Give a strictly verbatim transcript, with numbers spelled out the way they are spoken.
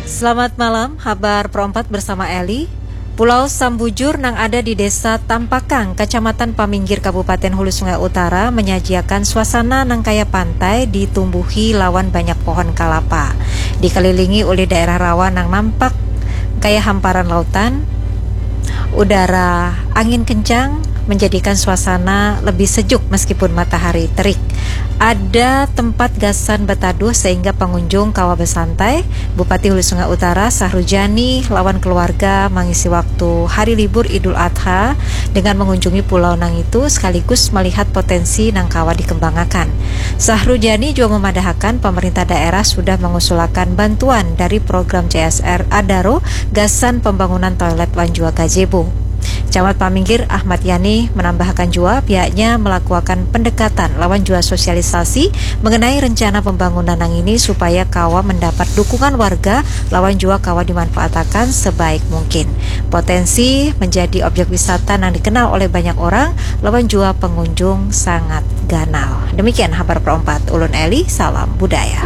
Selamat malam, habar perempat bersama Eli. Pulau Sambujur nang ada di Desa Tampakang, Kecamatan Paminggir, Kabupaten Hulu Sungai Utara, menyajiakan suasana nang kaya pantai ditumbuhi lawan banyak pohon kalapa. Dikelilingi oleh daerah rawa nang nampak kaya hamparan lautan, udara angin kencang menjadikan suasana lebih sejuk meskipun matahari terik. Ada tempat gasan betaduh sehingga pengunjung kawa bersantai. Bupati Hulu Sungai Utara, Sahrujani, lawan keluarga mengisi waktu hari libur Idul Adha dengan mengunjungi pulau nang itu sekaligus melihat potensi nang kawa dikembangakan. Sahrujani juga memadahakan pemerintah daerah sudah mengusulakan bantuan dari program C S R Adaro gasan pembangunan toilet wan jua gazebo. Camat Paminggir Ahmad Yani menambahkan jua pihaknya melakukan pendekatan lawan jua sosialisasi mengenai rencana pembangunan nang ini supaya kawa mendapat dukungan warga lawan jua kawa dimanfaatakan sebaik mungkin. Potensi menjadi objek wisata nang dikenal oleh banyak orang lawan jua pengunjung sangat ganal. Demikian habar perempat. Ulun Eli, salam budaya.